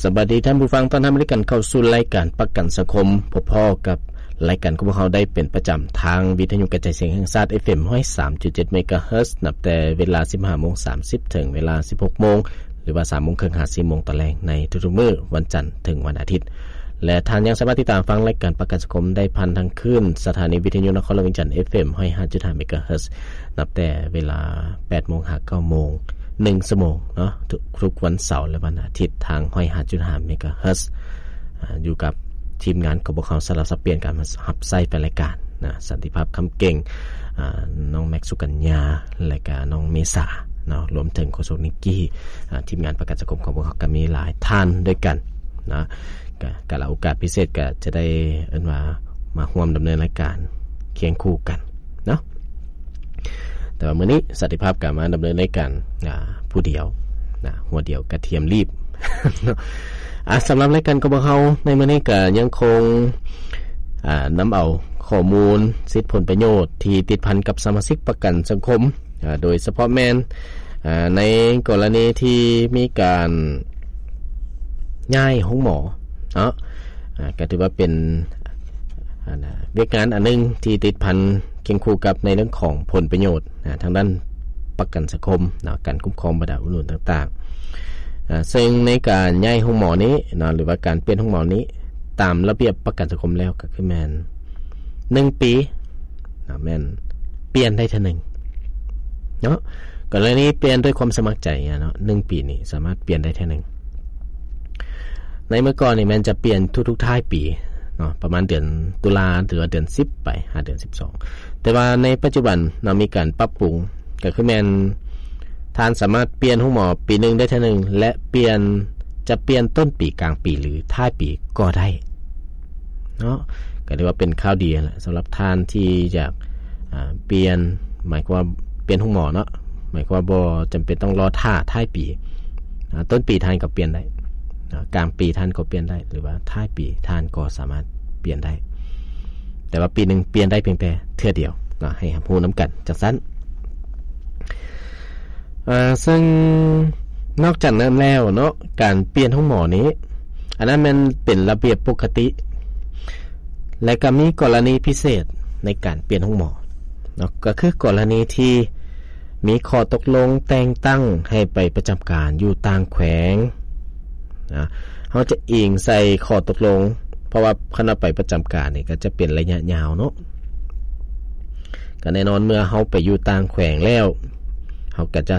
ສະບາຍດີທ່ານຜູ້ຟັງ, ຕ້ອນຮັບໃຫ້ທ່ານເຂົ້າສູ່ລາຍການປະກັນສັງຄົມ, ພົບພໍ້ກັບລາຍການຂອງພວກເຮົາໄດ້ເປັນປະຈຳທາງວິທະຍຸກະຈາຍສຽງແຫ່ງຊາດ ເອັຟເອັມ ຮ້ອຍສາມຈຸດເຈັດ ເມກາເຮີດ ນັບແຕ່ເວລາ ສິບຫ້າໂມງສາມສິບ ເຖິງເວລາ ສິບຫົກໂມງ ຫຼືວ່າ ສາມໂມງເຄິ່ງຫາ ສີ່ໂມງຕອນແລງ ໃນທຸກໆມື້ ວັນຈັນເຖິງວັນອາທິດ. ແລະ ທ່ານຍັງສາມາດຕິດຕາມຟັງລາຍການປະກັນສັງຄົມໄດ້ຜ່ານທາງຄື້ນສະຖານີວິທະຍຸນະຄອນຫຼວງວຽງຈັນ ເອັຟເອັມ ຮ້ອຍຫ້າຈຸດຫ້າ ເມກາເຮີດ ນັບແຕ່ເວລາ ແປດໂມງຫາ ເກົ້າໂມງ ໜຶ່ງຊົ່ວໂມງເນາະ ທຸກ ທຸກວັນເສົາ ແລະ ວັນອາທິດ ທາງ ຮ້ອຍຫ້າຈຸດຫ້າ ເມກາເຮີດ ອ່າ ຢູ່ກັບທີມງານຂອງພວກເຮົາ ສະຫຼັບສັບປ່ຽນກັນມາຮັບໃຊ້ແຟນລາຍການນະ ສັນຕິພາບ ຄຳເກັ່ງ ອ່າ ນ້ອງແມັກ ສຸກັນຍາ ແລະ ກະນ້ອງເມສາເນາະ ລວມເຖິງໂຄສົກນິກກີ້ ອ່າ ທີມງານປະກັນສັງຄົມຂອງພວກເຮົາກະມີຫຼາຍທ່ານດ້ວຍກັນນະ ກະ ກະລະໂອກາດພິເສດກະຈະໄດ້ເອີ້ນວ່າມາຮ່ວມດຳເນີນລາຍການຄຽງຄູ່ກັນເນາະ. ແຕ່ວ່າມື້ນີ້ສັນຕິພາບກະມາດຳເນີນລາຍການ ອ່າ ຜູ້ດຽວນະ ຫົວດຽວກະທຽມລີບເນາະ. ອ່າ ສຳລັບລາຍການຂອງພວກເຮົາໃນມື້ນີ້ກະຍັງຄົງ ອ່າ ນຳເອົາຂໍ້ມູນສິດຜົນປະໂຫຍດທີ່ຕິດພັນກັບສະມາຊິກປະກັນສັງຄົມ ອ່າ ໂດຍສະເພາະແມ່ນ ອ່າ ໃນກໍລະນີທີ່ມີການຍ້າຍໂຮງໝໍເນາະ ອ່າ ກະຖືວ່າເປັນ ອັນ ວຽກງານອັນໜຶ່ງທີ່ຕິດພັນຄຽງຄູ່ກັບໃນເລື່ອງຂອງຜົນປະໂຫຍດ ອ່າ ທາງດ້ານປະກັນສັງຄົມເນາະ ການຄຸ້ມຄອງບັນດາອຸດໜູນຕ່າງໆ ອ່າ ເຊິ່ງໃນການຍ້າຍໂຮງໝໍນີ້ເນາະ ຫຼືວ່າການປ່ຽນໂຮງໝໍນີ້ ຕາມລະບຽບປະກັນສັງຄົມແລ້ວກະຄືແມ່ນໜຶ່ງປີ ນະ ແມ່ນປ່ຽນໄດ້ເທື່ອໜຶ່ງເນາະ ກໍລະນີປ່ຽນດ້ວຍຄວາມສະໝັກໃຈເນາະ ໜຶ່ງປີນີ້ສາມາດປ່ຽນໄດ້ເທື່ອໜຶ່ງ. ໃນເມື່ອກ່ອນນີ້ແມ່ນຈະປ່ຽນທຸກໆທ້າຍປີເນາະ ປະມານເດືອນຕຸລາ ຫຼືວ່າເດືອນສິບໄປຫາເດືອນສິບສອງ ແຕ່ວ່າໃນປັດຈຸບັນເນາະ ມີການປັບປຸງ ກໍຄືແມ່ນທ່ານສາມາດປ່ຽນໂຮງໝໍປີໜຶ່ງໄດ້ເທື່ອໜຶ່ງ ແລະ ປ່ຽນ ຈະປ່ຽນຕົ້ນປີ ກາງປີ ຫຼື ທ້າຍປີກໍໄດ້ ເນາະ ກໍຖືວ່າເປັນຂ່າວດີຫັ້ນແຫຼະ ສຳລັບທ່ານທີ່ຢາກ ອ່າ ປ່ຽນ ໝາຍຄວາມວ່າປ່ຽນໂຮງໝໍເນາະ ໝາຍຄວາມວ່າບໍ່ຈຳເປັນຕ້ອງລໍຖ້າທ້າຍປີ ອ່າ ຕົ້ນປີທ່ານກໍປ່ຽນໄດ້ເນາະ ກາງປີທ່ານກໍປ່ຽນໄດ້ ຫຼືວ່າທ້າຍປີທ່ານກໍສາມາດປ່ຽນໄດ້ ແຕ່ວ່າປີໜຶ່ງປ່ຽນໄດ້ພຽງແຕ່ເທື່ອດຽວເນາະ ໃຫ້ຮັບຮູ້ນຳກັນຈັ່ງຊັ້ນ. ເຊິ່ງນອກຈາກນັ້ນແລ້ວເນາະ ການປ່ຽນໂຮງໝໍນີ້ ອັນນັ້ນແມ່ນເປັນລະບຽບປົກກະຕິ ແລະ ກໍມີກໍລະນີພິເສດໃນການປ່ຽນໂຮງໝໍເນາະ ກໍຄືກໍລະນີທີ່ມີຂໍ້ຕົກລົງແຕ່ງຕັ້ງໃຫ້ໄປປະຈຳການຢູ່ຕ່າງແຂວງນະ ເຮົາຈະອີງໃສ່ຂໍ້ຕົກລົງ ເພາະວ່າຄັນວ່າໄປປະຈຳການນີ້ກໍຈະເປັນໄລຍະຍາວເນາະ. ກໍແນ່ນອນເມື່ອເຮົາໄປຢູ່ຕ່າງແຂວງແລ້ວ ເຮົາກໍຈະ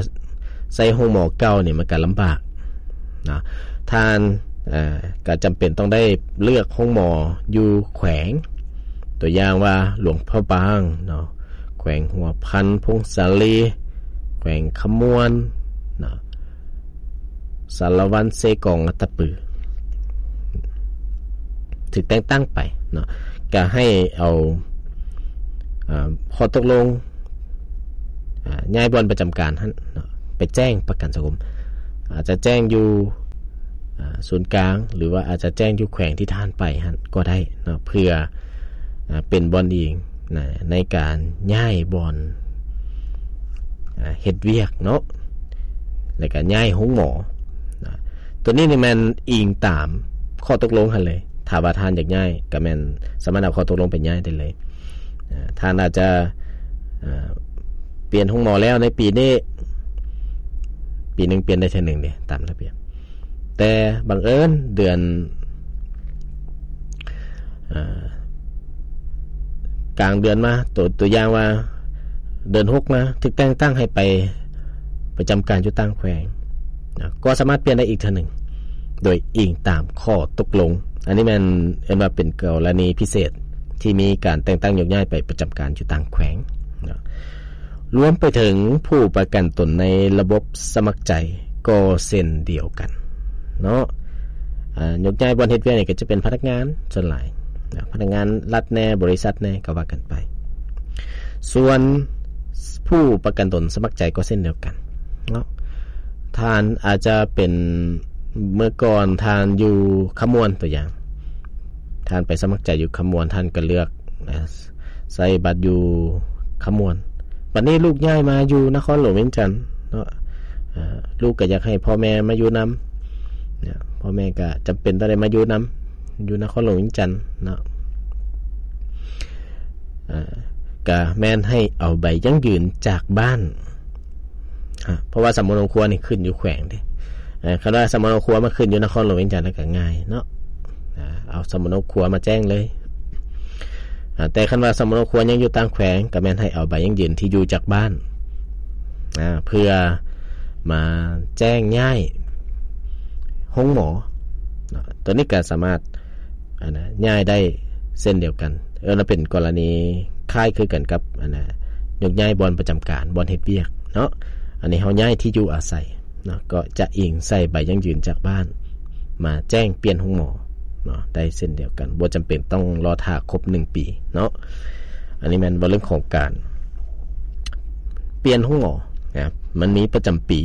ໃຊ້ໂຮງໝໍເກົ່ານີ້ມັນກໍລຳບາກນະ ທ່ານ ເອີ ກໍຈຳເປັນຕ້ອງໄດ້ເລືອກໂຮງໝໍຢູ່ແຂວງ ຕົວຢ່າງວ່າຫຼວງພະບາງເນາະ ແຂວງຫົວພັນ ຜົ້ງສາລີ ແຂວງຄຳມ່ວນເນາະ ສາລະວັນ ເຊກອງ ອັດຕະປື ຖືກແຕ່ງຕັ້ງໄປເນາະ ກະໃຫ້ເອົາ ອາ ຂໍ້ຕົກລົງ ອາ ຍ້າຍບ່ອນປະຈຳການຫັ້ນເນາະ ໄປແຈ້ງປະກັນສັງຄົມ ອາດຈະແຈ້ງຢູ່ ອາ ສູນກາງ ຫຼືວ່າອາດຈະແຈ້ງຢູ່ແຂວງທີ່ທ່ານໄປຫັ້ນກໍໄດ້ເນາະ ເພື່ອ ອາ ເປັນບ່ອນອີງນະ ໃນການຍ້າຍບ່ອນ ອາ ເຮັດວຽກເນາະ ແລ້ວກໍຍ້າຍໂຮງໝໍນະ ຕົວນີ້ນີ້ແມ່ນອີງຕາມຂໍ້ຕົກລົງຫັ້ນເລີຍ ຖ້າວ່າທ່ານຢາກຍ້າຍກໍແມ່ນສາມາດເອົາຂໍ້ຕົກລົງໄປຍ້າຍໄດ້ເລີຍ ອາ ທ່ານອາດຈະ ອາ ປ່ຽນໂຮງໝໍແລ້ວໃນປີນີ້ ປີໜຶ່ງປ່ຽນໄດ້ເທື່ອໜຶ່ງເດ້ ຕາມລະບຽບ ແຕ່ບັງເອີນເດືອນ ເອີ ກາງເດືອນມາ ຕົວ ຕົວຢ່າງວ່າເດືອນຫົກມາ ຖືກແຕ່ງຕັ້ງໃຫ້ໄປປະຈຳການຢູ່ຕ່າງແຂວງນະ ກໍສາມາດປ່ຽນໄດ້ອີກເທື່ອໜຶ່ງ ໂດຍອີງຕາມຂໍ້ຕົກລົງ ອັນນີ້ແມ່ນເອີ້ນວ່າເປັນກໍລະນີພິເສດ ທີ່ມີການແຕ່ງຕັ້ງໂຍກຍ້າຍໄປປະຈຳການຢູ່ຕ່າງແຂວງນະ. ລວມໄປເຖິງຜູ້ປະກັນຕົນໃນລະບົບສະໝັກໃຈກໍເຊັ່ນດຽວກັນເນາະ ອາ ຍົກຍ້າຍບ່ອນເຮັດວຽກນີ້ກໍຈະເປັນພະນັກງານສ່ວນຫຼາຍນະ ພະນັກງານລັດແດ່ ບໍລິສັດແດ່ ກໍວ່າກັນໄປ. ສ່ວນຜູ້ປະກັນຕົນສະໝັກໃຈກໍເຊັ່ນດຽວກັນເນາະ ທ່ານອາດຈະເປັນ ເມື່ອກ່ອນທ່ານຢູ່ຄຳມ່ວນ ຕົວຢ່າງ ທ່ານໄປສະໝັກໃຈຢູ່ຄຳມ່ວນ ທ່ານກໍເລືອກ ອາ ໃຊ້ບັດຢູ່ຄຳມ່ວນ ບັດນີ້ລູກຍ້າຍມາຢູ່ນະຄອນຫຼວງວຽງຈັນເນາະ ລູກກໍຢາກໃຫ້ພໍ່ແມ່ມາຢູ່ນຳ ນະ ພໍ່ແມ່ກໍຈຳເປັນຕ້ອງໄດ້ມາຢູ່ນຳ ຢູ່ນະຄອນຫຼວງວຽງຈັນເນາະ ອາ ກໍແມ່ນໃຫ້ເອົາໃບຢັ້ງຢືນຈາກບ້ານ ອາ ເພາະວ່າສຳມະໂນຄົວນີ້ຂຶ້ນຢູ່ແຂວງເດ້ ເອີ ຄັນວ່າສຳມະໂນຄົວມາຂຶ້ນຢູ່ນະຄອນຫຼວງວຽງຈັນ ກໍງ່າຍເນາະ ອາ ເອົາສຳມະໂນຄົວມາແຈ້ງເລີຍ ອາ ແຕ່ຄັນວ່າສຳມະໂນຄົວຍັງຢູ່ຕ່າງແຂວງ ກໍແມ່ນໃຫ້ເອົາໃບຢັ້ງຢືນທີ່ຢູ່ຈາກບ້ານ ອາ ເພື່ອມາແຈ້ງຍ້າຍໂຮງໝໍເນາະ ໂຕນີ້ກໍສາມາດ ອັນນະ ຍ້າຍໄດ້ເຊັ່ນດຽວກັນ ເອີ ລະເປັນກໍລະນີຄ້າຍຄືກັນກັບ ອັນນະ ຍົກຍ້າຍບ່ອນປະຈຳການ ບ່ອນເຮັດວຽກເນາະ ອັນນີ້ເຮົາຍ້າຍທີ່ຢູ່ອາໄສເນາະ ກໍຈະອີງໃສ່ໃບຢັ້ງຢືນຈາກບ້ານ ມາແຈ້ງປ່ຽນໂຮງໝໍເນາະ ໄດ້ເຊັ່ນດຽວກັນ ບໍ່ຈຳເປັນຕ້ອງລໍຖ້າຄົບໜຶ່ງປີເນາະ ອັນນີ້ແມ່ນເວົ້າເລື່ອງຂອງການປ່ຽນໂຮງໝໍນະ ມັນມີປະຈຳປີ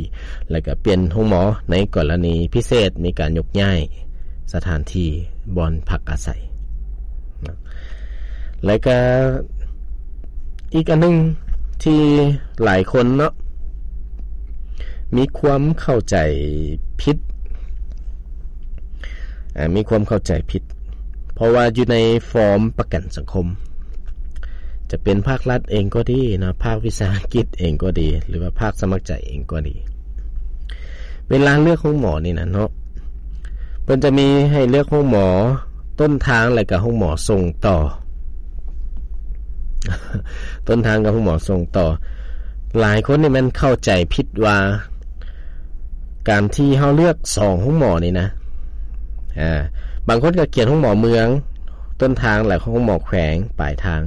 ແລ້ວກໍປ່ຽນໂຮງໝໍໃນກໍລະນີພິເສດ ມີການຍົກຍ້າຍສະຖານທີ່ບ່ອນພັກອາໄສນະ ແລ້ວກໍອີກອັນໜຶ່ງທີ່ຫຼາຍຄົນເນາະ ມີຄວາມເຂົ້າໃຈຜິດ ອາ ມີຄວາມເຂົ້າໃຈຜິດ ເພາະວ່າຢູ່ໃນຟອມປະກັນສັງຄົມ ຈະເປັນພາກລັດເອງກໍດີເນາະ ພາກວິສາຫະກິດເອງກໍດີ ຫຼືວ່າພາກສະໝັກໃຈເອງກໍດີ ເວລາເລືອກໂຮງໝໍນີ້ນະເນາະ ເພິ່ນຈະມີໃຫ້ເລືອກໂຮງໝໍຕົ້ນທາງ ແລະກະໂຮງໝໍສົ່ງຕໍ່ ຕົ້ນທາງກັບໂຮງໝໍສົ່ງຕໍ່ ຫຼາຍຄົນນີ້ແມ່ນເຂົ້າໃຈຜິດວ່າ ການທີ່ເຮົາເລືອກສອງໂຮງໝໍນີ້ນະ ອາ ບາງຄົນກໍຂຽນໂຮງໝໍເມືອງຕົ້ນທາງ ແລະໂຮງໝໍແຂວງປາຍທາງ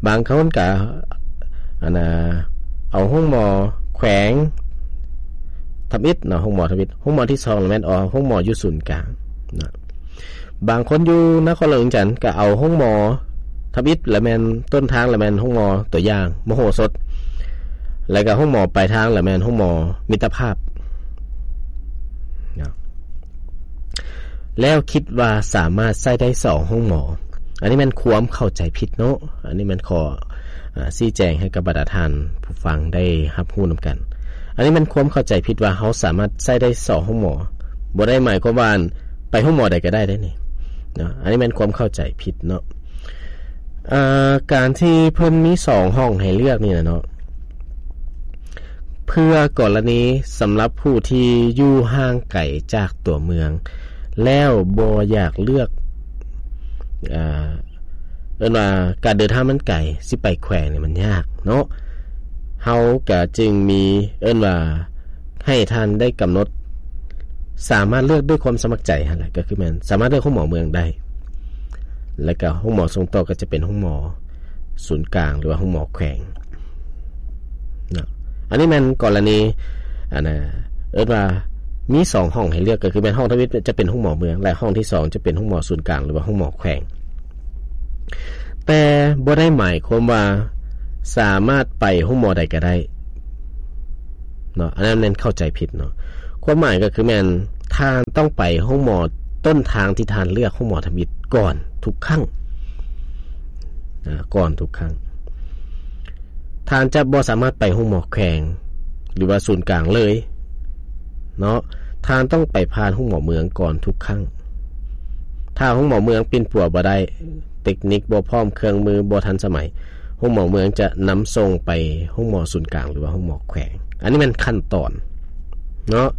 ບາງຄົນກໍ ອັນນະ ເອົາໂຮງໝໍແຂວງທຳອິດເນາະ ໂຮງໝໍທຳອິດ ໂຮງໝໍທີສອງລະແມ່ນ ເອົາໂຮງໝໍຢູ່ສູນກາງນະ ບາງຄົນຢູ່ນະຄອນຫຼວງວຽງຈັນກໍເອົາໂຮງໝໍທຳອິດລະແມ່ນຕົ້ນທາງລະແມ່ນໂຮງໝໍຕົວຢ່າງມະໂຫສົດ ແລ້ວກໍໂຮງໝໍປາຍທາງລະແມ່ນໂຮງໝໍມິດຕະພາບເນາະ ແລ້ວຄິດວ່າສາມາດໃຊ້ໄດ້ສອງໂຮງໝໍ ອັນນີ້ແມ່ນຄວາມເຂົ້າໃຈຜິດເນາະ ອັນນີ້ແມ່ນຂໍ ອາ ຊີ້ແຈງໃຫ້ກັບບັນດາທ່ານຜູ້ຟັງໄດ້ຮັບຮູ້ນຳກັນ ອັນນີ້ແມ່ນຄວາມເຂົ້າໃຈຜິດວ່າເຮົາສາມາດໃຊ້ໄດ້ສອງໂຮງໝໍ ບໍ່ໄດ້ໝາຍຄວາມວ່າໄປໂຮງໝໍໃດກໍໄດ້ເດ້ນີ້ເນາະ ອັນນີ້ແມ່ນຄວາມເຂົ້າໃຈຜິດເນາະ ເອີ ການທີ່ເພິ່ນມີສອງຫ້ອງໃຫ້ເລືອກນີ້ນະເນາະ ເພື່ອກໍລະນີສຳລັບຜູ້ທີ່ຢູ່ຫ່າງໄກຈາກຕົວເມືອງ ແລ້ວບໍ່ຢາກເລືອກ ເອີ ເອີ້ນວ່າການເດີນທາງມັນໄກ ຊິໄປແຂວງນີ້ມັນຍາກເນາະ ເຮົາກະຈຶ່ງມີ ເອີ້ນວ່າໃຫ້ທ່ານໄດ້ກຳນົດ ສາມາດເລືອກດ້ວຍຄວາມສະໝັກໃຈຫັ້ນແຫຼະ ກໍຄືແມ່ນສາມາດເລືອກໂຮງໝໍເມືອງໄດ້ ແລ້ວກະໂຮງໝໍສົ່ງຕໍ່ກໍຈະເປັນໂຮງໝໍສູນກາງ ຫຼືວ່າໂຮງໝໍແຂວງເນາະ ອັນນີ້ແມ່ນກໍລະນີ ອັນນະ ເອີ້ນວ່າມີສອງຫ້ອງໃຫ້ເລືອກ ກໍຄືແມ່ນຫ້ອງທຳອິດຈະເປັນໂຮງໝໍເມືອງ ແລະຫ້ອງທີສອງຈະເປັນໂຮງໝໍສູນກາງ ຫຼືວ່າໂຮງໝໍແຂວງ ແຕ່ບໍ່ໄດ້ໝາຍຄວາມວ່າສາມາດໄປໂຮງໝໍໃດກໍໄດ້ເນາະ ອັນນັ້ນແມ່ນເຂົ້າໃຈຜິດເນາະ ຄວາມໝາຍກໍຄືແມ່ນທ່ານຕ້ອງໄປໂຮງໝໍຕົ້ນທາງທີ່ທ່ານເລືອກໂຮງໝໍທຳອິດກ່ອນທຸກຄັ້ງ ອາ ກ່ອນທຸກຄັ້ງ ທ່ານຈະບໍ່ສາມາດໄປໂຮງໝໍແຂວງ ຫຼືວ່າສູນກາງເລີຍເນາະ ທ່ານຕ້ອງໄປຜ່ານໂຮງໝໍເມືອງກ່ອນທຸກຄັ້ງ ຖ້າໂຮງໝໍເມືອງປິ່ນປົວບໍ່ໄດ້ ເຕັກນິກບໍ່ພ້ອມ ເຄື່ອງມືບໍ່ທັນສະໄໝ ໂຮງໝໍເມືອງຈະນຳສົ່ງໄປໂຮງໝໍສູນກາງ ຫຼືວ່າໂຮງໝໍແຂວງ ອັນນີ້ແມ່ນຂັ້ນຕອນເນາະ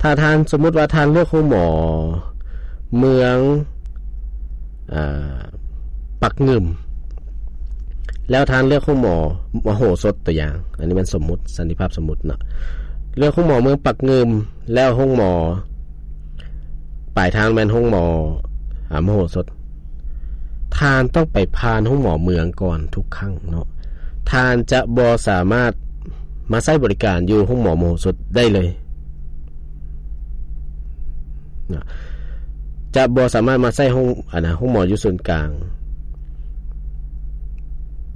ຖ້າທ່ານ ສົມມຸດວ່າທ່ານເລືອກໂຮງໝໍເມືອງ ອາ ປາກງື່ມ ແລ້ວທ່ານເລືອກໂຮງໝໍມະໂຫສົດ ຕົວຢ່າງ ອັນນີ້ແມ່ນສົມມຸດ ສັນຕິພາບສົມມຸດເນາະ ເລືອກໂຮງໝໍເມືອງປາກງື່ມ ແລ້ວໂຮງໝໍປາຍທາງແມ່ນໂຮງໝໍ ອາ ມະໂຫສົດ ທ່ານຕ້ອງໄປຜ່ານໂຮງໝໍເມືອງກ່ອນທຸກຄັ້ງເນາະ ທ່ານຈະບໍ່ສາມາດມາໃຊ້ບໍລິການຢູ່ໂຮງໝໍມະໂຫສົດໄດ້ເລີຍເນາະ ຈະບໍ່ສາມາດມາໃຊ້ໂຮງ ອັນນະ ໂຮງໝໍຢູ່ສູນກາງ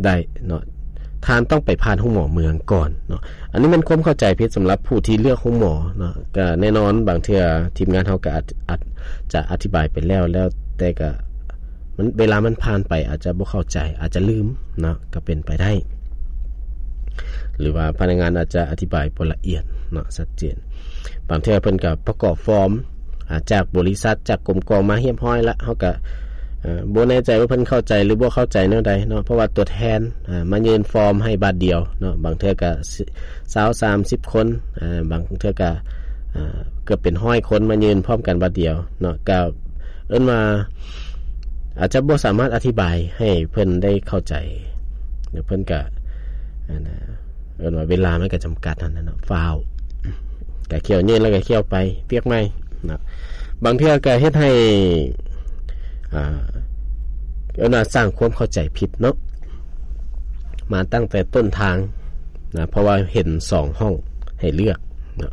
ໄດ້ເນາະ ທ່ານຕ້ອງໄປຜ່ານໂຮງໝໍເມືອງກ່ອນເນາະ ອັນນີ້ແມ່ນຄວາມເຂົ້າໃຈຜິດສຳລັບຜູ້ທີ່ເລືອກໂຮງໝໍເນາະ ກະແນ່ນອນບາງເທື່ອທີມງານເຮົາກະອາດ ອາດຈະອະທິບາຍໄປແລ້ວ ແລ້ວແຕ່ກະ ມັນ ເວລາມັນຜ່ານໄປອາດຈະບໍ່ເຂົ້າໃຈ ອາດຈະລືມເນາະ ກະເປັນໄປໄດ້ ຫຼືວ່າພະນັກງານອາດຈະອະທິບາຍບໍ່ລະອຽດເນາະ ຊັດເຈນ. ບາງເທື່ອເພິ່ນກໍປະກອບຟອມ ອາ ຈາກບໍລິສັດ ຈາກກົມກອງມາຮຽບຮ້ອຍລະ ເຮົາກໍ ເອີ ບໍ່ແນ່ໃຈວ່າເພິ່ນເຂົ້າໃຈ ຫຼືບໍ່ເຂົ້າໃຈແນວໃດເນາະ ເພາະວ່າຕົວແທນ ອາ ມາຍື່ນຟອມໃຫ້ບາດດຽວເນາະ ບາງເທື່ອກໍຊາວ ສາມສິບຄົນ ອາ ບາງເທື່ອກໍ ອາ ເກືອບເປັນຮ້ອຍຄົນມາຍື່ນພ້ອມກັນບາດດຽວເນາະ ກໍເອີ້ນວ່າ ອາດຈະບໍ່ສາມາດອະທິບາຍໃຫ້ເພິ່ນໄດ້ເຂົ້າໃຈ ແລ້ວເພິ່ນກະ ອັນນ່າ ເອີ້ນວ່າເວລາມັນກະຈຳກັດຫັ້ນນະເນາະ ຟ້າວ ກະຂ້ຽວຍື່ນແລ້ວກະຂ້ຽວໄປວຽກໃໝ່ເນາະ ບາງເທື່ອກະເຮັດໃຫ້ ອ່າ ເອີ້ນວ່າສ້າງຄວາມເຂົ້າໃຈຜິດເນາະ ມາຕັ້ງແຕ່ຕົ້ນທາງນະ ເພາະວ່າເຫັນສອງຫ້ອງໃຫ້ເລືອກເນາະ.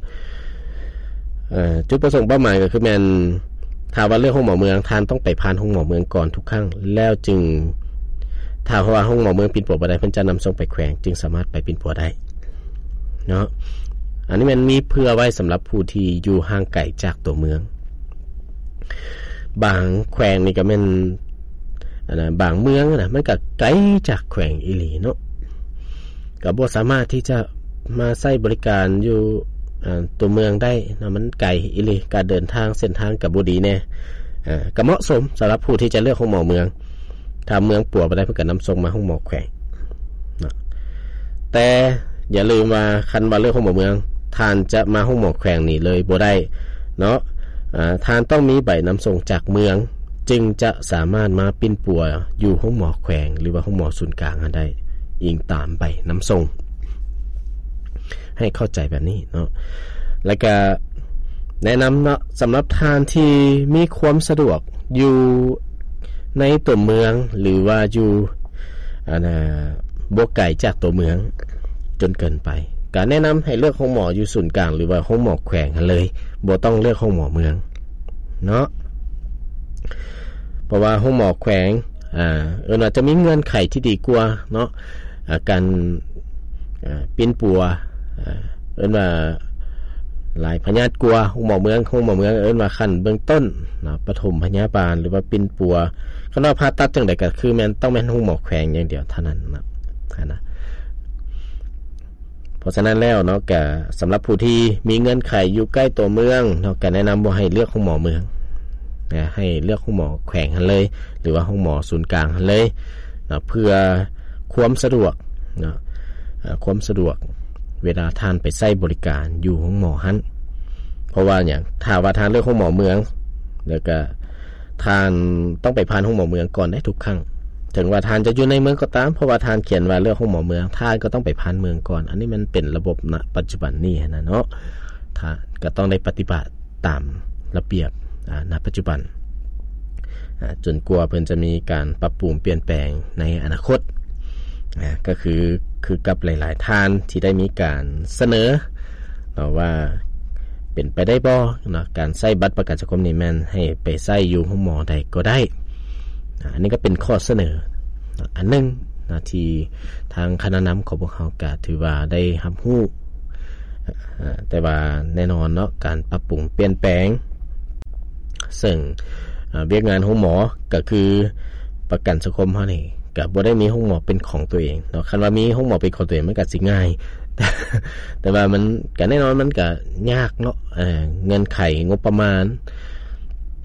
ເອີ ຈຸດປະສົງເປົ້າໝາຍກໍຄືແມ່ນ ຖ້າວ່າເລືອກໂຮງໝໍເມືອງ ທ່ານຕ້ອງໄປຜ່ານໂຮງໝໍເມືອງກ່ອນທຸກຄັ້ງ ແລ້ວຈຶ່ງ ຖ້າວ່າໂຮງໝໍເມືອງປິ່ນປົວບໍ່ໄດ້ ເພິ່ນຈະນຳສົ່ງໄປແຂວງ ຈຶ່ງສາມາດໄປປິ່ນປົວໄດ້ເນາະ. ອັນນີ້ແມ່ນມີເພື່ອໄວ້ສຳລັບຜູ້ທີ່ຢູ່ຫ່າງໄກຈາກຕົວເມືອງ. ບາງແຂວງນີ້ກໍແມ່ນ ອັນນ່າ ບາງເມືອງນະ ມັນກໍໄກຈາກແຂວງອີ່ຫຼີເນາະ ກໍບໍ່ສາມາດທີ່ຈະມາໃຊ້ບໍລິການຢູ່ ອາ ຕົວເມືອງໄດ້ເນາະ ມັນໄກອີ່ຫຼີ ການເດີນທາງ ເສັ້ນທາງກໍບໍ່ດີແດ່. ອາ ກໍເໝາະສົມສຳລັບຜູ້ທີ່ຈະເລືອກໂຮງໝໍເມືອງ ຖ້າເມືອງປົວບໍ່ໄດ້ ເພິ່ນກໍນຳສົ່ງມາໂຮງໝໍແຂວງເນາະ. ແຕ່ຢ່າລືມວ່າ ຄັນວ່າເລືອກໂຮງໝໍເມືອງ ທ່ານຈະມາໂຮງໝໍແຂວງນີ້ເລີຍບໍ່ໄດ້ເນາະ. ອາ ທ່ານຕ້ອງມີໃບນຳສົ່ງຈາກເມືອງ ຈຶ່ງຈະສາມາດມາປິ່ນປົວຢູ່ໂຮງໝໍແຂວງ ຫຼືວ່າໂຮງໝໍສູນກາງຫັ້ນໄດ້ ອີງຕາມໃບນຳສົ່ງ ໃຫ້ເຂົ້າໃຈແບບນີ້ເນາະ. ແລ້ວກະແນະນຳເນາະ ສຳລັບທ່ານທີ່ມີຄວາມສະດວກຢູ່ໃນຕົວເມືອງ ຫຼືວ່າຢູ່ ອັນນ່າ ບໍ່ໄກຈາກຕົວເມືອງຈົນເກີນໄປ ກະແນະນຳໃຫ້ເລືອກໂຮງໝໍຢູ່ສູນກາງ ຫຼືວ່າໂຮງໝໍແຂວງຫັ້ນເລີຍ ບໍ່ຕ້ອງເລືອກໂຮງໝໍເມືອງເນາະ. ເພາະວ່າໂຮງໝໍແຂວງ ອ່າ ເອີ້ນວ່າຈະມີເງື່ອນໄຂທີ່ດີກວ່າເນາະ ອ່າ ການ ອ່າ ປິ່ນປົວ ອ່າ ເອີ້ນວ່າຫຼາຍພະຍາດກວ່າໂຮງໝໍເມືອງ. ໂຮງໝໍເມືອງເອີ້ນວ່າຂັ້ນເບື້ອງຕົ້ນເນາະ ປະຖົມພະຍາບານ ຫຼືວ່າປິ່ນປົວ. ຄັນວ່າຜ່າຕັດຈັ່ງໃດກໍຄືແມ່ນ ຕ້ອງແມ່ນໂຮງໝໍແຂວງຢ່າງດຽວເທົ່ານັ້ນເນາະ ຫັ້ນນະ. ເພາະສະນັ້ນແລ້ວເນາະ ກະສຳລັບຜູ້ທີ່ມີເງື່ອນໄຂຢູ່ໃກ້ຕົວເມືອງເນາະ ກະແນະນຳວ່າໃຫ້ເລືອກໂຮງໝໍເມືອງນະ ໃຫ້ເລືອກໂຮງໝໍແຂວງຫັ້ນເລີຍ ຫຼືວ່າໂຮງໝໍສູນກາງຫັ້ນເລີຍເນາະ ເພື່ອຄວາມສະດວກເນາະ ເອີ ຄວາມສະດວກເວລາທ່ານໄປໃຊ້ບໍລິການຢູ່ໂຮງໝໍຫັ້ນ. ເພາະວ່າຫຍັງ? ຖ້າວ່າທ່ານເລືອກໂຮງໝໍເມືອງ ແລ້ວກະ ທ່ານຕ້ອງໄປຜ່ານໂຮງໝໍເມືອງກ່ອນໃດ໋ທຸກຄັ້ງ ເຖິງວ່າທ່ານຈະຢູ່ໃນເມືອງກໍຕາມ ເພາະວ່າທ່ານຂຽນວ່າເລືອກໂຮງໝໍເມືອງ ທ່ານກໍຕ້ອງໄປຜ່ານເມືອງກ່ອນ. ອັນນີ້ມັນເປັນລະບົບນະປັດຈຸບັນນີ້ຫັ້ນນະເນາະ ທ່ານກໍຕ້ອງໄດ້ປະຕິບັດຕາມລະບຽບ ອາ ນະປັດຈຸບັນ ອາ ຈົນກວ່າເພິ່ນຈະມີການປັບປຸງປ່ຽນແປງໃນອະນາຄົດ ອາ ກໍຄື ຄືກັບຫຼາຍໆທ່ານທີ່ໄດ້ມີການສະເໜີ ເນາະ ວ່າເປັນໄປໄດ້ບໍ່ເນາະ ການໃຊ້ບັດປະກັນສັງຄົມນີ້ແມ່ນໃຫ້ໄປໃຊ້ຢູ່ໂຮງໝໍໃດກໍໄດ້. ອາ ອັນນີ້ກໍເປັນຂໍ້ສະເໜີອັນໜຶ່ງເນາະ ທີ່ທາງຄະນະນຳຂອງພວກເຮົາກໍຖືວ່າໄດ້ຮັບຮູ້ ອາ ແຕ່ວ່າແນ່ນອນເນາະ ການປັບປຸງປ່ຽນແປງ ເຊິ່ງ ອາ ວຽກງານໂຮງໝໍກໍຄືປະກັນສັງຄົມເຮົານີ້ ກະບໍ່ໄດ້ມີໂຮງໝໍເປັນຂອງຕົວເອງເນາະ. ຄັນວ່າມີໂຮງໝໍເປັນຂອງຕົວເອງ ມັນກະຊິງ່າຍ ແຕ່ ແຕ່ວ່າມັນກະແນ່ນອນ ມັນກະຍາກເນາະ ເອີ ເງື່ອນໄຂງົບປະມານ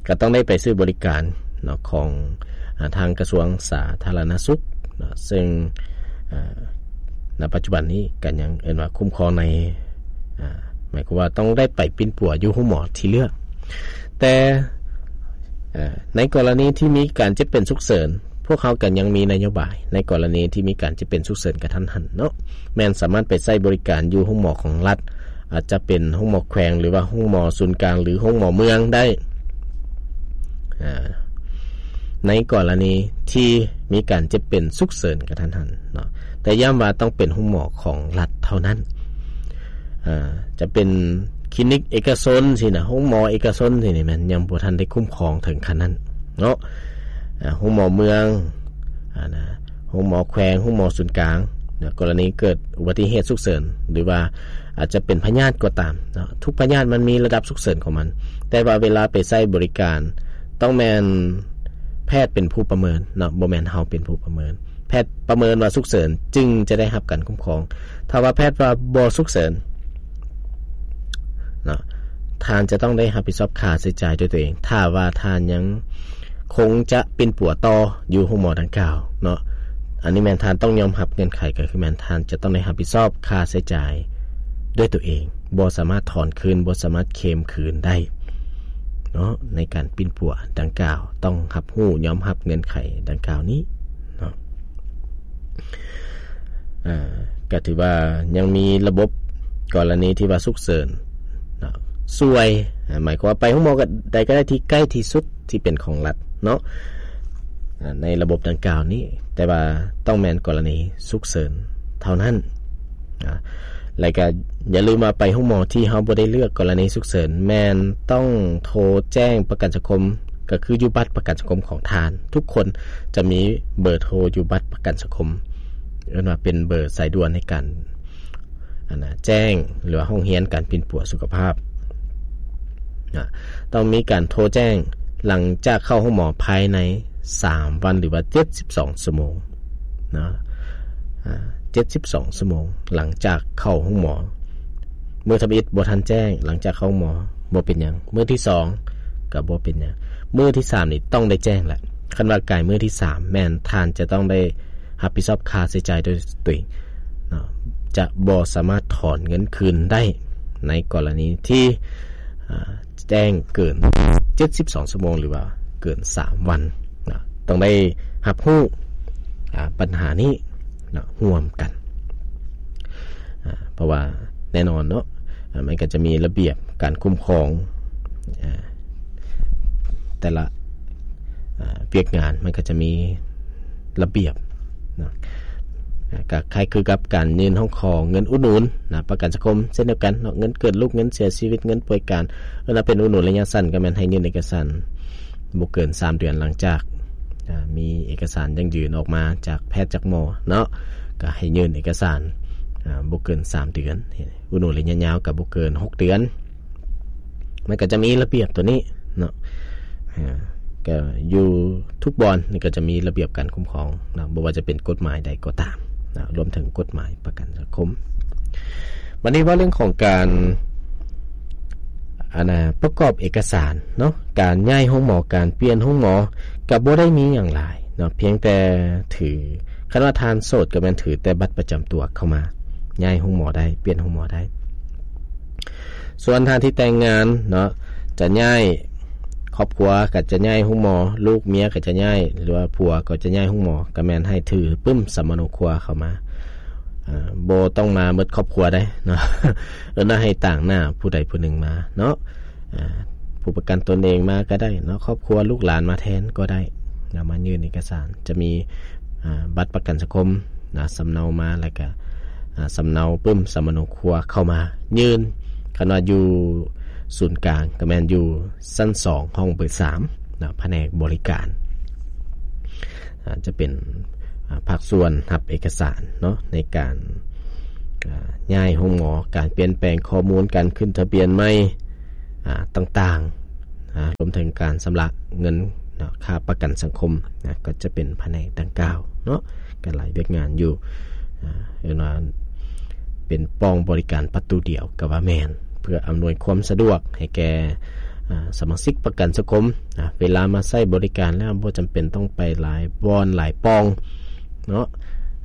ກະຕ້ອງໄດ້ໄປຊື້ບໍລິການເນາະ ຂອງ ອາ ທາງກະຊວງສາທາລະນະສຸກເນາະ ເຊິ່ງ ອາ ນະປັດຈຸບັນນີ້ກະຍັງເອີ້ນວ່າຄຸ້ມຄອງໃນ ອາ ໝາຍຄວາມວ່າຕ້ອງໄດ້ໄປປິ່ນປົວຢູ່ໂຮງໝໍທີ່ເລືອກ. ແຕ່ ເອີ ໃນກໍລະນີທີ່ມີການເຈັບເປັນສຸກເສີນ ພວກເຮົາກໍຍັງມີນະໂຍບາຍ ໃນກໍລະນີທີ່ມີການເຈັບເປັນສຸກເສີນກະທັນຫັນເນາະ ແມ່ນສາມາດໄປໃຊ້ບໍລິການຢູ່ໂຮງໝໍຂອງລັດ ອາດຈະເປັນໂຮງໝໍແຂວງ ຫຼືວ່າໂຮງໝໍສູນກາງ ຫຼືໂຮງໝໍເມືອງໄດ້ ອາ ໃນກໍລະນີທີ່ມີການເຈັບເປັນສຸກເສີນກະທັນຫັນເນາະ ແຕ່ຢ້ຳວ່າຕ້ອງເປັນໂຮງໝໍຂອງລັດເທົ່ານັ້ນ. ອາ ຈະເປັນຄລີນິກເອກະຊົນຊີ້ນະ ໂຮງໝໍເອກະຊົນຊີ້ນີ້ ແມ່ນຍັງບໍ່ທັນໄດ້ຄຸ້ມຄອງເຖິງຂັ້ນນັ້ນເນາະ. ອາ ໂຮງໝໍເມືອງ ອາ ນະ ໂຮງໝໍແຂວງ ໂຮງໝໍສູນກາງເນາະ ກໍລະນີເກີດອຸບັດຕິເຫດສຸກເສີນ ຫຼືວ່າອາດຈະເປັນພະຍາດກໍຕາມເນາະ ທຸກພະຍາດມັນມີລະດັບສຸກເສີນຂອງມັນ ແຕ່ວ່າເວລາໄປໃຊ້ບໍລິການ ຕ້ອງແມ່ນແພດເປັນຜູ້ປະເມີນເນາະ ບໍ່ແມ່ນເຮົາເປັນຜູ້ປະເມີນ. ແພ ດປະເມີນວ່າສຸກເສີນ ຈຶ່ງຈະໄດ້ຮັບການຄຸ້ມຄອງ. ຖ້າວ່າແພດວ່າບໍ່ສຸກເສີນເນາະ ທ່ານຈະຕ້ອງໄດ້ຮັບຜິດຊອບຄ່າໃຊ້ຈ່າຍດ້ວຍຕົວເອງ ຖ້າວ່າທ່ານຍັງຄົງຈະປິ່ນປົວຕໍ່ຢູ່ໂຮງໝໍດັ່ງກ່າວເນາະ. ອັນນີ້ແມ່ນທ່ານຕ້ອງຍອມຮັບເງື່ອນໄຂ ກໍຄືແມ່ນທ່ານຈະຕ້ອງໄດ້ຮັບຜິດຊອບຄ່າໃຊ້ຈ່າຍດ້ວຍຕົວເອງ, ບໍ່ສາມາດຖອນຄືນ, ບໍ່ສາມາດເຄມຄືນໄດ້ເນາະ. ໃນການປິ່ນປົວດັ່ງກ່າວ ຕ້ອງຮັບຮູ້ຍອມຮັບເງື່ອນໄຂດັ່ງກ່າວນີ້ເນາະ. ອ່າ ກໍຖືວ່າຍັງມີລະບົບກໍລະນີທີ່ວ່າສຸກເສີນເນາະ ຊ່ວຍ ອ່າ ໝາຍຄວາມວ່າໄປໂຮງໝໍໃດກໍໄດ້ທີ່ໃກ້ທີ່ສຸດທີ່ເປັນຂອງລັດເນາະ ອ່າ ໃນລະບົບດັ່ງກ່າວນີ້, ແຕ່ວ່າຕ້ອງແມ່ນກໍລະນີສຸກເສີນເທົ່ານັ້ນ. ອ່າ ແລະກະຢ່າລືມວ່າໄປໂຮງໝໍທີ່ເຮົາບໍ່ໄດ້ເລືອກກໍລະນີສຸກເສີນ ແມ່ນຕ້ອງໂທແຈ້ງປະກັນສັງຄົມ, ກໍຄືຢູ່ບັດປະກັນສັງຄົມຂອງທ່ານ. ທຸກຄົນຈະມີເບີໂທຢູ່ບັດປະກັນສັງຄົມ, ເອີ້ນວ່າເປັນເບີສາຍດ່ວນໃນການ ອັນນະ ແຈ້ງ ຫຼືວ່າຮ້ອງຮຽນການປິ່ນປົວສຸຂະພາບນະ. ຕ້ອງມີການໂທແຈ້ງຫຼັງຈາກເຂົ້າໂຮງໝໍພາຍໃນສາມວັນ ຫຼືວ່າເຈັດສິບສອງຊົ່ວໂມງເນາະ. ອ່າ ເຈັດສິບສອງຊົ່ວໂມງຫຼັງຈາກເຂົ້າໂຮງໝໍ. ມື້ທຳອິດບໍ່ທັນແຈ້ງ ຫຼັງຈາກເຂົ້າໂຮງໝໍ ບໍ່ເປັນຫຍັງ. ມື້ທີສອງກໍບໍ່ເປັນຫຍັງ. ມື້ທີສາມນີ້ຕ້ອງໄດ້ແຈ້ງແຫຼະ. ຄັນວ່າກາຍມື້ທີສາມ ແມ່ນທ່ານຈະຕ້ອງໄດ້ຮັບຜິດຊອບຄ່າໃຊ້ຈ່າຍໂດຍຕົວເອງເນາະ, ຈະບໍ່ສາມາດຖອນເງິນຄືນໄດ້ ໃນກໍລະນີທີ່ ອ່າ ແຈ້ງເກີນເຈັດສິບສອງຊົ່ວໂມງ ຫຼືວ່າເກີນສາມວັນນະ. ຕ້ອງໄດ້ຮັບຮູ້ ອ່າ ບັນຫານີ້ນະ ຮ່ວມກັນ ອ່າ ເພາະວ່າແນ່ນອນເນາະ ອ່າ ມັນກໍຈະມີລະບຽບການຄຸ້ມຄອງ ອ່າ ແຕ່ລະ ອ່າ ວຽກງານ ມັນກໍຈະມີລະບຽບນະ. ອ່າ ກໍຄ້າຍຄືກັບການຍື່ນຮ້ອງຂໍເງິນອຸດໜູນນະ ປະກັນສັງຄົມເຊັ່ນດຽວກັນເນາະ, ເງິນເກີດລູກ, ເງິນເສຍຊີວິດ, ເງິນປ່ວຍການ. ເອີ ຖ້າເປັນອຸດໜູນໄລຍະສັ້ນ ກໍແມ່ນໃຫ້ຍື່ນເອກະສານບໍ່ເກີນສາມເດືອນຫຼັງຈາກ ອ່າ ມີເອກະສານຢັ້ງຢືນອອກມາຈາກແພດຈາກໝໍເນາະ, ກໍໃຫ້ຍື່ນເອກະສານ ອ່າ ບໍ່ເກີນສາມເດືອນ. ອຸດໜູນໄລຍະຍາວກໍບໍ່ເກີນຫົກເດືອນ. ມັນກໍຈະມີລະບຽບຕົວນີ້ເນາະ ອ່າ ກໍຢູ່ທຸກບ່ອນນີ້ກໍຈະມີລະບຽບການຄຸ້ມຄອງເນາະ, ບໍ່ວ່າຈະເປັນກົດໝາຍໃດກໍຕາມນະ, ລວມເຖິງກົດໝາຍປະກັນສັງຄົມ. ບັດນີ້ເວົ້າເລື່ອງຂອງການ ອັນນະ ປະກອບເອກະສານເນາະ, ການຍ້າຍໂຮງໝໍ, ການປ່ຽນໂຮງໝໍ ກໍບໍ່ໄດ້ມີຫຍັງຫຼາຍເນາະ, ພຽງແຕ່ຖື ຄັນວ່າທ່ານໂສດກໍແມ່ນຖືແຕ່ບັດປະຈຳຕົວເຂົ້າມາ, ຍ້າຍໂຮງໝໍໄດ້, ປ່ຽນໂຮງໝໍໄດ້. ສ່ວນທ່ານທີ່ແຕ່ງງານເນາະ ຈະຍ້າຍ ຄອບຄົວກໍຈະຍ້າຍໂຮງໝໍ, ລູກເມຍກໍຈະຍ້າຍ ຫຼືວ່າຜົວກໍຈະຍ້າຍໂຮງໝໍ, ກໍແມ່ນໃຫ້ຖືປຶ້ມສຳມະໂນຄົວເຂົ້າມາ. ອ່າ ບໍ່ຕ້ອງມາໝົດຄອບຄົວໃດເນາະ, ເອີ້ນວ່າໃຫ້ຕາງໜ້າຜູ້ໃດຜູ້ໜຶ່ງມາເນາະ. ອ່າ ຜູ້ປະກັນຕົນເອງມາກໍໄດ້ເນາະ, ຄອບຄົວລູກຫຼານມາແທນກໍໄດ້ນະ, ມາຍື່ນເອກະສານ. ຈະມີ ອ່າ ບັດປະກັນສັງຄົມນະ, ສຳເນົາມາ ແລ້ວກະ ອ່າ ສຳເນົາປຶ້ມສຳມະໂນຄົວເຂົ້າມາຍື່ນ. ຄັນວ່າຢູ່ສູນກາງ ກໍແມ່ນຢູ່ຊັ້ນສອງ ຫ້ອງເບີສາມນະ, ພະແນກບໍລິການ. ອ່າ ຈະເປັນ ອ່າ ພາກສ່ວນຮັບເອກະສານເນາະ ໃນການ ອ່າ ຍ້າຍໂຮງໝໍ, ການປ່ຽນແປງຂໍ້ມູນ, ການຂຶ້ນທະບຽນໃໝ່ ອ່າ ຕ່າງໆ ອ່າ ລວມເຖິງການຊຳລະເງິນເນາະ ຄ່າປະກັນສັງຄົມນະ, ກໍຈະເປັນພະແນກດັ່ງກ່າວເນາະ, ກໍຫຼາຍວຽກງານຢູ່. ອ່າ ເອີ້ນວ່າເປັນປ່ອງບໍລິການປະຕູດຽວກໍວ່າແມ່ນ, ເພື່ອອຳນວຍຄວາມສະດວກໃຫ້ແກ່ ອ່າ ສະມາຊິກປະກັນສັງຄົມນະ, ເວລາມາໃຊ້ບໍລິການແລ້ວບໍ່ຈຳເປັນຕ້ອງໄປຫຼາຍບ່ອນຫຼາຍປ່ອງເນາະ.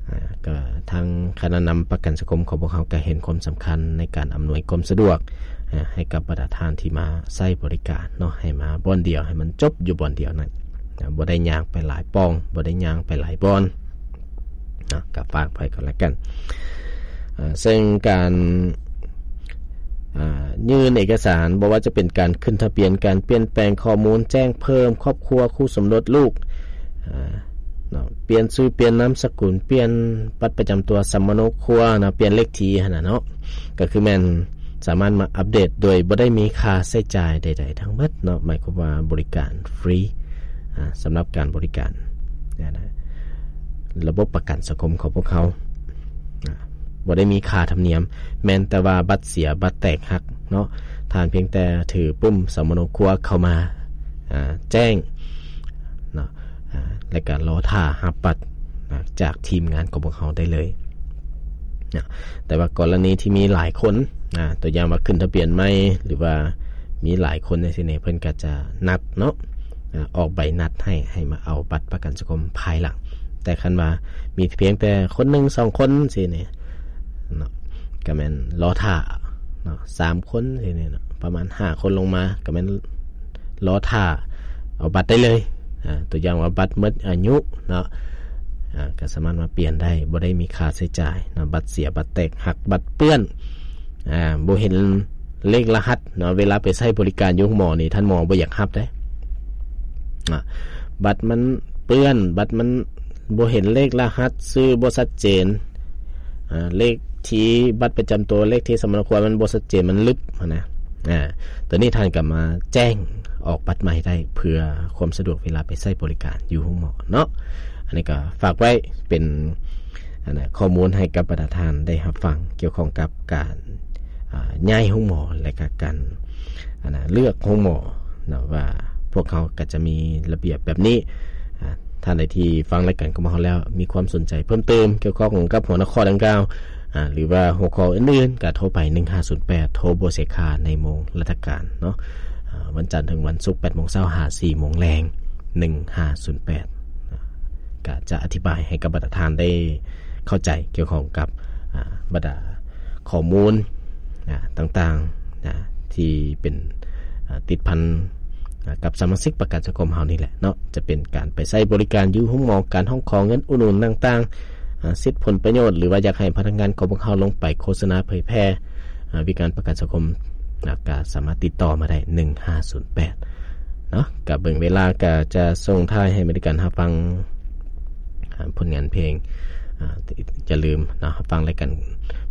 ອ່າ ກໍທາງຄະນະນຳປະກັນສັງຄົມຂອງພວກເຮົາກໍເຫັນຄວາມສຳຄັນໃນການອຳນວຍຄວາມສະດວກ ອ່າ ໃຫ້ກັບບັນດາທ່ານທີ່ມາໃຊ້ບໍລິການເນາະ, ໃຫ້ມາບ່ອນດຽວ ໃຫ້ມັນຈົບຢູ່ບ່ອນດຽວນັ້ນນະ, ບໍ່ໄດ້ຍ່າງໄປຫຼາຍປ່ອງ, ບໍ່ໄດ້ຍ່າງໄປຫຼາຍບ່ອນນະ, ກໍຝາກໄວ້ກໍແລ້ວກັນ. ເຊິ່ງການ ອ່າ ຍື່ນເອກະສານ ບໍ່ວ່າຈະເປັນການຂຶ້ນທະບຽນ, ການປ່ຽນແປງຂໍ້ມູນ, ແຈ້ງເພີ່ມຄອບຄົວ, ຄູ່ສົມລົດ, ລູກ ເນາະ, ປ່ຽນຊື່, ປ່ຽນນາມສະກຸນ, ປ່ຽນບັດປະຈຳຕົວ, ສຳມະໂນຄົວເນາະ, ປ່ຽນເລກທີຫັ້ນນະເນາະ, ກໍຄືແມ່ນສາມາດມາອັບເດດໂດຍບໍ່ໄດ້ມີຄ່າໃຊ້ຈ່າຍໃດໆທັງໝົດເນາະ. ໝາຍຄວາມວ່າບໍລິການຟຣີ ອ່າ ສຳລັບການບໍລິການ ນະ ລະບົບປະກັນສັງຄົມຂອງພວກເຮົາ ອ່າ ບໍ່ໄດ້ມີຄ່າທຳນຽມ, ແມ່ນແຕ່ວ່າບັດເສຍ, ບັດແຕກຫັກເນາະ, ທ່ານພຽງແຕ່ຖືປຶ້ມສຳມະໂນຄົວເຂົ້າມາ ອ່າ ແຈ້ງເນາະ ອ່າ ແລະກະລໍຖ້າຮັບບັດ ຈາກທີມງານຂອງພວກເຮົາໄດ້ເລີຍນະ. ແຕ່ວ່າກໍລະນີທີ່ມີຫຼາຍຄົນນະ ຕົວຢ່າງວ່າຂຶ້ນທະບຽນໃໝ່ ຫຼືວ່າມີຫຼາຍຄົນຈັ່ງຊີ້ນີ້ ເພິ່ນກໍຈະນັດເນາະ ອາ ອອກໃບນັດໃຫ້ ໃຫ້ມາເອົາບັດປະກັນສັງຄົມພາຍຫຼັງ. ແຕ່ຄັນວ່າມີພຽງແຕ່ຄົນໜຶ່ງສອງຄົນຊີ້ນີ້ເນາະ ກໍແມ່ນລໍຖ້າເນາະ ສາມຄົນຊີ້ນີ້ເນາະ ປະມານຫ້າຄົນລົງມາ ກໍແມ່ນລໍຖ້າເອົາບັດໄດ້ເລີຍ. ອາ ຕົວຢ່າງວ່າບັດໝົດອາຍຸເນາະ ອາ ກໍສາມາດມາປ່ຽນໄດ້ ບໍ່ໄດ້ມີຄ່າໃຊ້ຈ່າຍເນາະ. ບັດເສຍ ບັດແຕກຫັກ ບັດເປື້ອນ ອາ ບໍ່ເຫັນ ເລກລະຫັດເນາະ ເວລາໄປໃຊ້ບໍລິການຢູ່ໂຮງໝໍນີ້ ທ່ານໝໍບໍ່ຢາກຮັບເດ້. ອາ ບັດມັນເປື້ອນ ບັດມັນບໍ່ເຫັນເລກລະຫັດ ຊື່ບໍ່ຊັດເຈນ ອາ ເລກທີບັດປະຈຳຕົວ ເລກທີສຳມະນາຄົວ ມັນບໍ່ຊັດເຈນ ມັນລຶບຫັ້ນນະ. ອາ ຕົວນີ້ທ່ານກໍມາແຈ້ງອອກບັດໃໝ່ໄດ້ ເພື່ອຄວາມສະດວກເວລາໄປໃຊ້ບໍລິການຢູ່ໂຮງໝໍເນາະ. ອັນນີ້ກໍຝາກໄວ້ເປັນ ອັນນະ ຂໍ້ມູນໃຫ້ກັບບັນດາທ່ານໄດ້ຮັບຟັງ ກ່ຽວຂ້ອງກັບການ ອາ ຍ້າຍໂຮງໝໍ ແລະກະການ ອັນນະ ເລືອກໂຮງໝໍເນາະ ວ່າພວກເຮົາກໍຈະມີລະບຽບແບບນີ້. ອາ ທ່ານໃດທີ່ຟັງລາຍການຂອງພວກເຮົາແລ້ວ ມີຄວາມສົນໃຈເພີ່ມເຕີມກ່ຽວຂ້ອງກັບຫົວຂໍ້ດັ່ງກ່າວ ອາ ຫຼືວ່າຫົວຂໍ້ອື່ນໆ ກໍໂທໄປໜຶ່ງຫ້າສູນແປດ ໂທບໍ່ເສຍຄ່າໃນໂມງລາຊະການເນາະ. ອາ ວັນຈັນເຖິງວັນສຸກ ແປດໂມງເຊົ້າຫາສີ່ໂມງແລງ ໜຶ່ງຫ້າສູນແປດ ກໍຈະອະທິບາຍໃຫ້ກັບບັນດາທ່ານໄດ້ເຂົ້າໃຈກ່ຽວຂ້ອງກັບ ອາ ບັນດາຂໍ້ມູນ ອາ ຕ່າງໆ ອາ ທີ່ເປັນ ອາ ຕິດພັນ ອາ ກັບສະມາຊິກປະກັນສັງຄົມເຮົານີ້ແຫຼະເນາະ. ຈະເປັນການໄປໃຊ້ບໍລິການຢູ່ໂຮງໝໍ ການຮ້ອງຂໍເງິນອຸດໜູນຕ່າງໆ ອາ ສິດຜົນປະໂຫຍດ ຫຼືວ່າຢາກໃຫ້ພະນັກງານຂອງພວກເຮົາລົງໄປໂຄສະນາເຜີຍແຜ່ ອາ ວິການປະກັນສັງຄົມ ອາ ກໍສາມາດຕິດຕໍ່ມາໄດ້ ໜຶ່ງຫ້າສູນແປດເນາະ. ກໍເບິ່ງເວລາ ກໍຈະສົ່ງທ້າຍໃຫ້ບໍລິການຮັບຟັງ ອາ ຜົນງານເພງ. ອາ ຢ່າລືມເນາະ ຮັບຟັງລາຍການ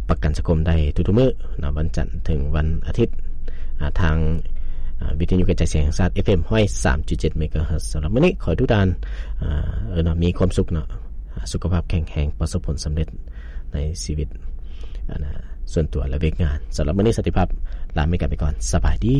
ປະກັນສັງຄົມໄດ້ທຸກໆມື້ເນາະ ວັນຈັນເຖິງວັນອາທິດ ອາ ທາງ ອາ ວິທະຍຸກະຈາຍສຽງແຫ່ງຊາດ ເອັຟເອັມ ຮ້ອຍສາມຈຸດເຈັດ ເມກາເຮີດ. ສຳລັບມື້ນີ້ ຂໍໃຫ້ທຸກທ່ານ ອາ ເອີເນາະ ມີຄວາມສຸກເນາະ ອາ ສຸຂະພາບແຂງແຮງ ປະສົບຜົນສຳເລັດໃນຊີວິດ ອັນນະ ສ່ວນຕົວ ແລະ ວຽກງານ. ສຳລັບມື້ນີ້ ສັນຕິພາບ ລາແມ່ກັນໄປກ່ອນ. ສະບາຍດີ.